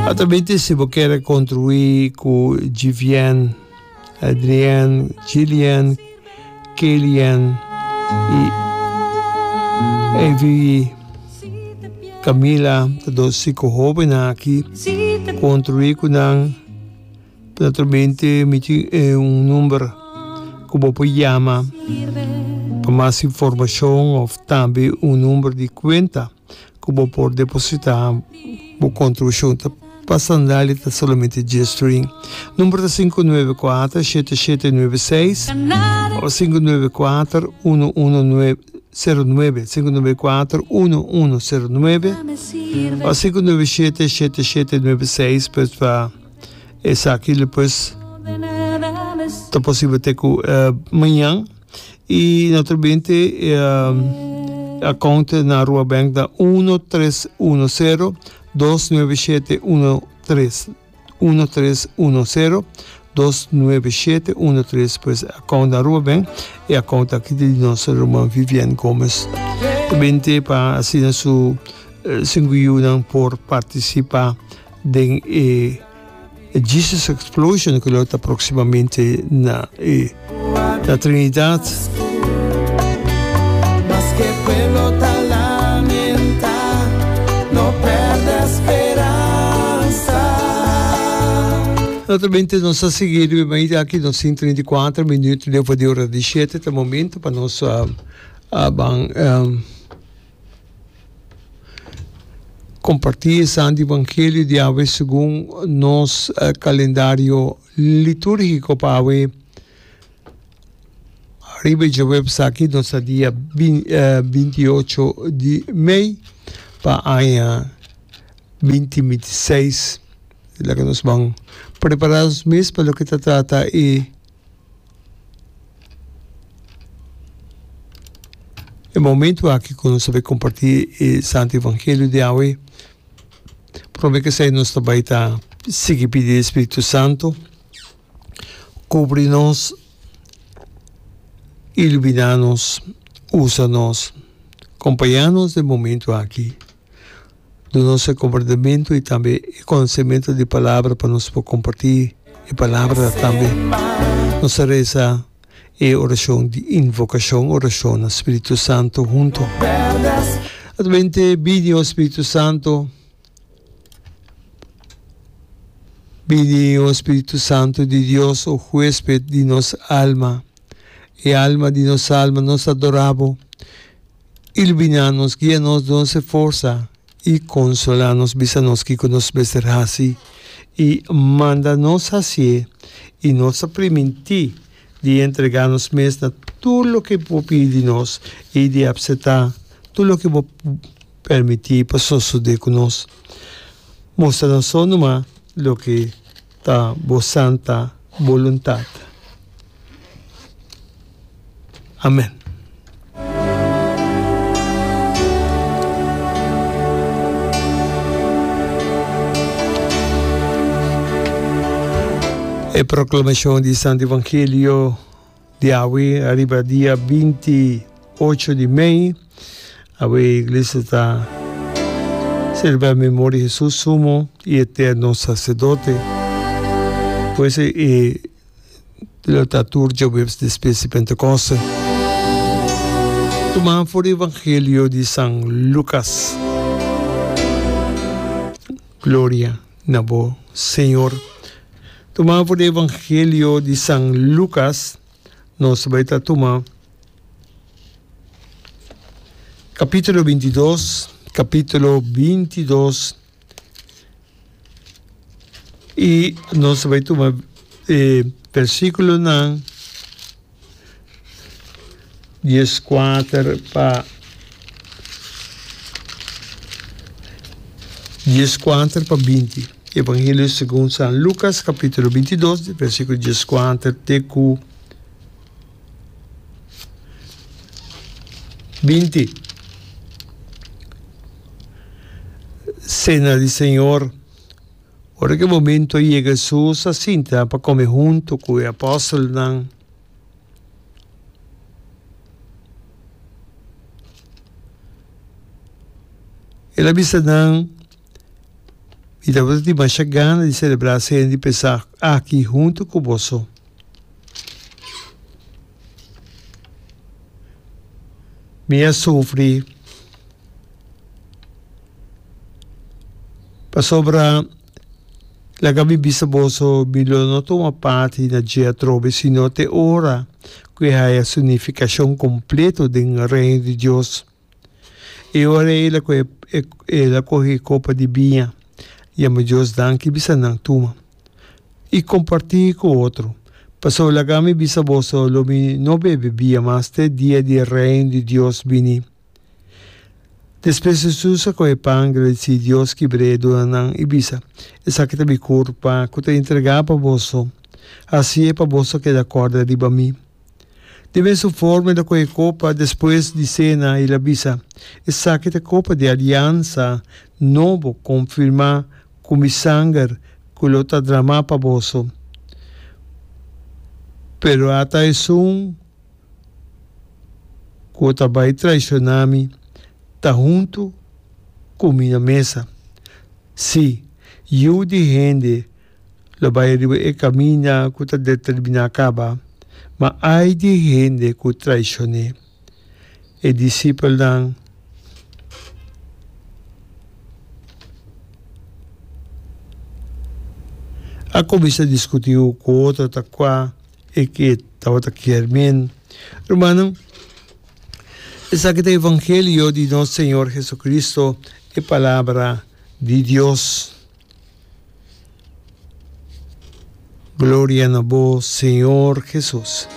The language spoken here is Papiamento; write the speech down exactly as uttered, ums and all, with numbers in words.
Altamente si bo kier contribui cu Givien, Adrienne, Gillian, Kelian y Evie, Camila, ta dos sinku hobennan aki, contribui cu nan. Naturalmente mi tin un number cu bo por yama pa mas informacion of tambe un number di cuenta cu bo por deposita bo contribucion. Ta pa sandalia ta solamente dies string. Number ta sinku nuebe kuater shete shete nuebe seis of sinku nuebe kuater uno uno nuebe sero nuebe, sinku nuebe kuater uno uno sero nuebe of sinku nuebe shete shete shete nuebe seis pues pa Esaki lo pues ta posibel te ku mañan y naturalmente e account na Aruba Bank ta uno tres uno sero dos nuebe shete uno tres, uno tres uno sero dos nuebe shete uno tres, pues account na Aruba Bank e account aki ta di nos ruman Vivian Gomez. Ta binte pa asina su sinku yunan por participa. Den e Jesus Explosion ku lo ta próksimamente na e na Trinidad. Naturalmente nos a sigui riba e mainta aki, nos tin trinta i kuater minuut leu di ora di shete, ta momento pa nos a ban. Comparti e Santo Evangelio di awe segun nos calendario liturgico pa awe. Ariba e djaweps aki nos ta dia binti i ocho di mei pa aña binti binti seis. Laga nos ban prepara nos mes pa loke ta trata e. E momento aki ku nos ta bai kompartí e Santo Evangelio di awe, promé ku esei nos ta bai ta sigui pidi e Spiritu Santo kubri nos, iluminá nos, usa nos, kompañá nos den momento aki. Duna nos e komprendemento i tambe e konosementu di palabra pa nos por kompartí e palabra tambe. Nos ta resa e orashon di invokashon, orashon na Spiritu Santu huntu. Atamente bini, o Spiritu Santu, bini, o Spiritu Santu di Dios, o huesped di nos alma, e alma di nos alma, nos ta adorá bo. Iluminá nos, guia nos, duna nos e forsa i konsolá nos. Bisa nos kiko nos mester hasi i manda nos hasié, i nos ta primintí di entregá nos mes na tur loke bo pidi di nos i di apseptá tur loke bo permití pa sosodé ku nos. Mustra nos so numa loke ta bo santa boluntat. Amen. E proclamacion di Santo Evangelio di awe ariba dia binti ocho di mei. Awe Iglesia ta celebra memoria di Jesus Sumo y Eterno Sacerdote. Pues e Lo ta tur djaweps despues di Pentekoste. Tuma for di Evangelio di San Lukas. Gloria na bo, Señor. Tuma for di Evangelio di San Lukas, nos bai ta tuma capítulo bintidos, capítulo bintidos. I nos ta bai tuma e versíkulonan dieskuater pa dieskuater pa binti. Evangelio segun San Lukas kapítulo bintidos, versíkulo dieskuater te ku Binti. Sena di Señor. Ora ku e momento a yega Hesus a sinta pa kome huntu ku e apòstelnan. El a bisa nan, Mi tabata tin masha gana di selebrá Sena di Pesach aki huntu ku boso. Mi a sufri pasobra laga mi bisa boso, mi lo no tuma parti na dje atrobe sino te ora ku e haya su nifikashon kompleto den Reino di Dios. E ora ei el a kohe el a kohe e kopa di biña, yama Dios danki i bisa nan, Tuma i kompartí ku otro, pasobra laga mi bisa boso, lo mi no bebe biña mas te dia di e Reino di Dios bini. Despues Hesus a kohe pan, gradisí Dios, kibr'é, duna nan i bisa, Esaki ta mi kurpa ku ta entregá pa boso. Hasié pa boso keda kòrda riba mi. Di mesun forma el a kohe kopa despues di sena i el a bisa, Esaki ta kopa di aliansa nobo konfirmá ku mi sanger ku lo ta dramá pa boso. Pero ata esun ku ta bai traishoná mi ta huntu ku mi na mesa. Sí, Yu di hende lo bai riba e kaminda ku ta determiná kaba, ma ai di hende ku traishon'é. E disipelnan a kuminsá diskutí ku otro ta kua e ke tabata kier men. Rumannan, esaki ta evangelio di nos Señor Jesucristo, e Palabra di Dios. Gloria na bo, Señor Jesus.